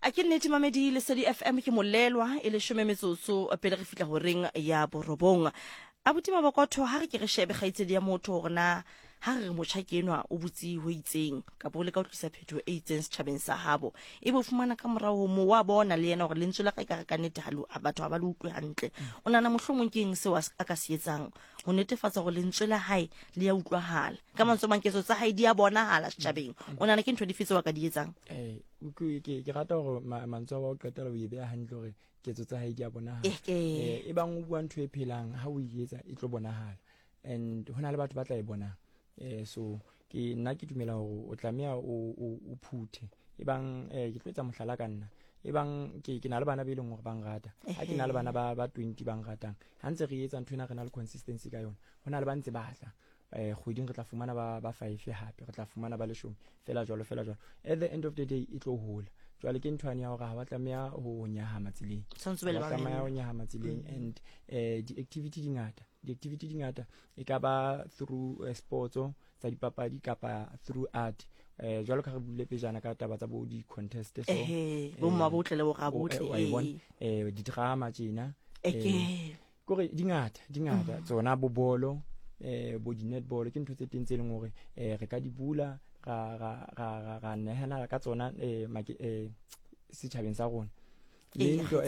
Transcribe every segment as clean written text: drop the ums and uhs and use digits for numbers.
A ke nnete mamedi Lesedi FM ke molelwa e leshome metsotso pele re fihla horeng ya borobong. Abuti Mabokotho ha re ke re shebe kgaitsedi ya motho hore na ha re re motjha ke enwa o butse ho itseng kapa o leka ho tlisa phetoho e itseng setjhabeng sa habo ebe o fumana ka morao ho moo wa bona le yena hore lentswe la ka ekare ka nnete ha batho ha ba le utlwe hantle. O nahana mohlomong ke eng seo a ka se etsang ho netefatsa hore lentswe la hae le ya utlwahala? Ka mantswe a mang ketso tsa hae di a bonahala setjhabeng. O nahana ke ntho dife tseo a ka di etsang? Eh, ke rata hore mantswe a wa ho qetela o e beha hantle hore ketso tsa hae di a bonahala. E bang o bua ntho e phelang ha o e etsa e tlo bonahala, and ho na le batho ba tla e bonang. So ke nna ke dumela hore o tlameha o phuthe. E bang ke tlo etsa mohlala ka nna, e bang ke na le bana be leng hore ba nrata, ha ke na le bana ba 20 ba nratang, ha ntse re etsa ntho ena re na le consistency ka yona, ho na le ba ntse ba tla. Kgweding re tla fumana ba 5, hape re tla fumana ba leshome, fela jwalo fela jwalo. At the end of the day e tlo hola. Jwale ke ntho yane ya hore ha wa tlameha ho nyahama tseleng, Tshwanetse o be le ha wa tlameha ho mamello. nyahama tseleng. And di-activity di ngata, di-activity di ngata, e ka ba through sports tsa dipapadi kapa through art. Jwalo ka re buile pejana ka taba tsa bo di-contest, so Bo mma botle le bo rabotle, wa e bona? Di-drama tjena, kore di ngata, di ngata tsona, bo bolo, bo di-netball, ke ntho tse teng tse leng hore re ka di bula ra nehela ka tsona setjhabeng sa rona, le ntho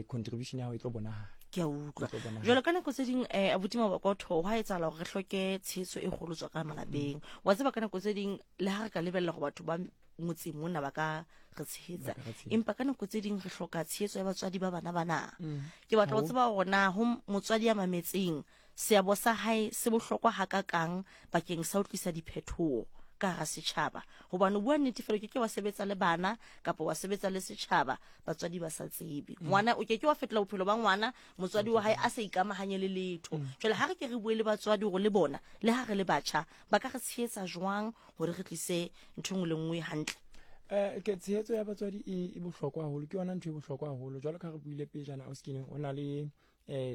contribution ya hao e tlo bonahala. Ke a utlwa. E tlo bonahala. Jwalo ka nako tse ding, abuti Mabokotho, hwa etsahala hore re hloke tshehetso e kgolo tswa ka malapeng. Wa tseba ka nako tse ding le ha re ka lebella hore batho ba motseng mona ba ka re tshehetsa, Ba ka re tshehetsa. empa ka nako tse ding re hloka tshehetso ya batswadi ba bana bana. Ke batla ho tseba hore na ho motswadi ya mametseng, seabo sa hae se bohlokwa hakakang bakeng sa ho tlisa diphethoho ka hara setjhaba. Hobane ho bua nnete fela, o ke ke wa sebetsa le bana kapa wa sebetsa le setjhaba batswadi ba sa tsebe. Ngwana o ke ke wa fetola bophelo ba ngwana motswadi wa hae a sa ikamahanye le letho. Jwale ha re ke re bue le batswadi hore le bona le ha re le batjha ba ka re tshehetsa jwang hore re tlise ntho e nngwe le nngwe hantle. Ke tshehetso ya batswadi e bohlokwa haholo, ke yona ntho e bohlokwa haholo. Jwalo ka re buile pejana, Auskineng, o na le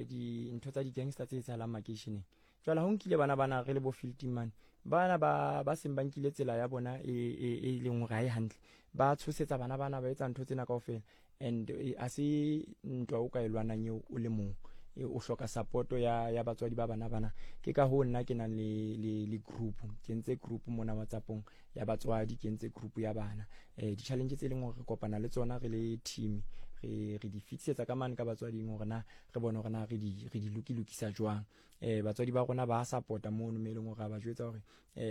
dintho tsa di-gangster tse etsahalang makeisheneng. Jwale ha o nkile bana bana re le bo field team mane, bana ba seng ba nkile tsela ya bona e leng hore ha e hantle, ba tshosetsa bana bana, ba etsa ntho tsena kaofela. And ha se ntwa o ka e lwanang eo o le mong, o hloka support ya batswadi ba bana bana. Ke ka hoo nna ke nang le group, ke entse group mona WhatsAppong ya batswadi, ke entse group ya bana. Di-challenge tse leng hore re kopana le tsona re le team, re di fitisetsa ka mane ka batswading hore na re bone hore na re di lokilokisa jwang. Batswadi ba rona ba support-a mono, mo e leng hore ra ba jwetsa hore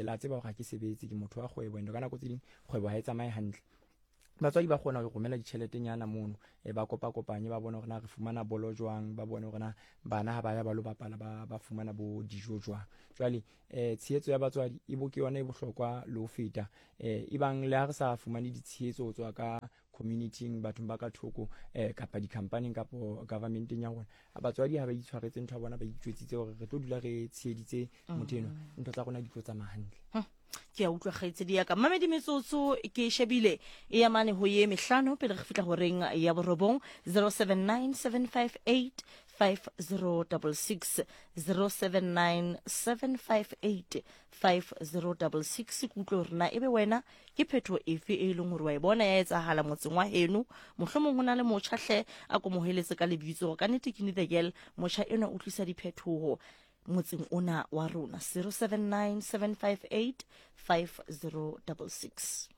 la tseba hore ha ke sebetse, ke motho wa kgwebo, and ka nako tse ding kgwebo ha e tsamaye hantle. Batswadi ba kgona ho romela ditjheletenyana mono, ba kopakopanye, ba bone hore na re fumana bolo jwang, ba bone hore na bana ha ba ya ba lo bapala ba fumana bo dijo jwang. Jwale tshehetso ya batswadi e bo ke yona e bohlokwa le ho feta. Ebang le ha re sa fumane ditshehetso ho tswa ka community-ing, bathong ba ka thoko, kapa di-company-ing kapa government-eng ya rona, batswadi ha ba itshwaretse ntho ya bona, ba itjwetsitse hore re tlo dula re tsheheditse motho enwa, ntho tsa rona di tlo tsamaya hantle. Ke a utlwa kgaitsedi ya ka. Mamedi metsotso ke shebile e ya mane ho ye mehlano pele re fihla horeng ya borobong. 079 758 5066, 079 758 5066. Ke utlwe hore na ebe wena ke phethoho efe e leng hore wa e bona ya etsahala motseng wa heno. Mohlomong ho na le motjha, hle a ko mo heletse ka lebitso hore ka nnete ke the girl, motjha enwa o tlisa diphethoho motseng ona wa rona. 079 758 5066.